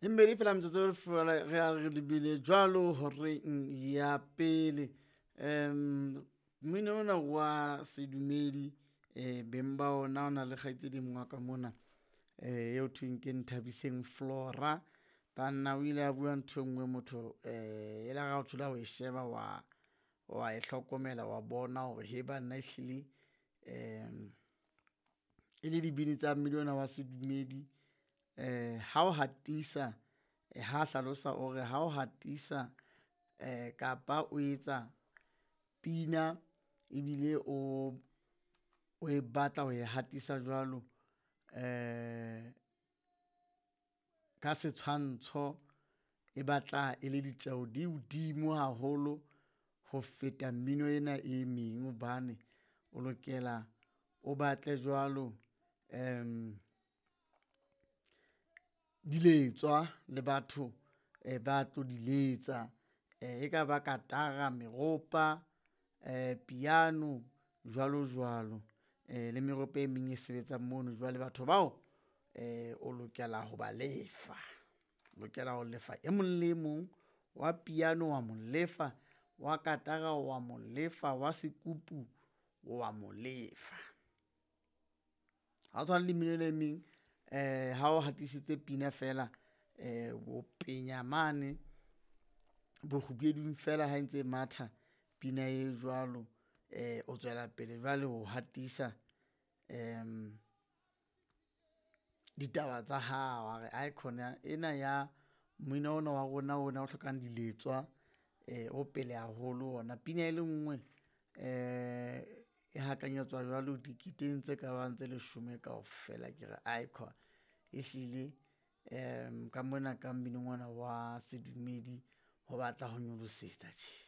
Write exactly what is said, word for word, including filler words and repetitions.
E mmedi fela metsotso fela re a re lebile jwalo horeng ya pele. Um mmino ona wa sedumedi um beng ba ona o na le kgaitsedi e mong wa ka mona um eo thweng ke Nthabiseng Flora. Banna o ile a bua nthwe nngwe motho um e la re ha o thola o e sheba wa, wa e hlokomela wa bona hore he banna ehlile um e le dibini tsa mmino ona wa sedumedi. Um ha o hatisa ha hlalosa o re ha o hatisa um kapa o etsa pina ebile o, o e batla ho e hatisa jwalo um ka setshwantsho e batla e le ditjeho di hodimo haholo ho feta mmino ena e meng, hobane o lokela o batle jwalo um diletswa le batho ba tlo di letsa. E ka ba katara, meropa, piano jwalo jwalo le meropa e meng e sebetsang mono. Jwale batho bao o lokela ho ba lefa, o lokela ho lefa e mong le e mong wa piano wa mo lefa, wa katara wa mo lefa, wa sekupu wa mo lefa. Ha o tshwane le mmino ena e meng ha o hatisitse pina fela o penya mane bokgubedung fela ha e ntse e matha pina e jwalo, o tswela pele jwale ho hatisa ditaba tsa hao. Wa re aikhona ena ya mmino ona wa rona ona o hlokang diletswa o pele haholo ona. Pina e le nngwe e hakanyetswa jwalo diketeng tse kabang tse leshome kaofela. Ke re aikhona ehlile ka mona ka mminong ona wa sedumedi ho batla ho nyolosetsa tje.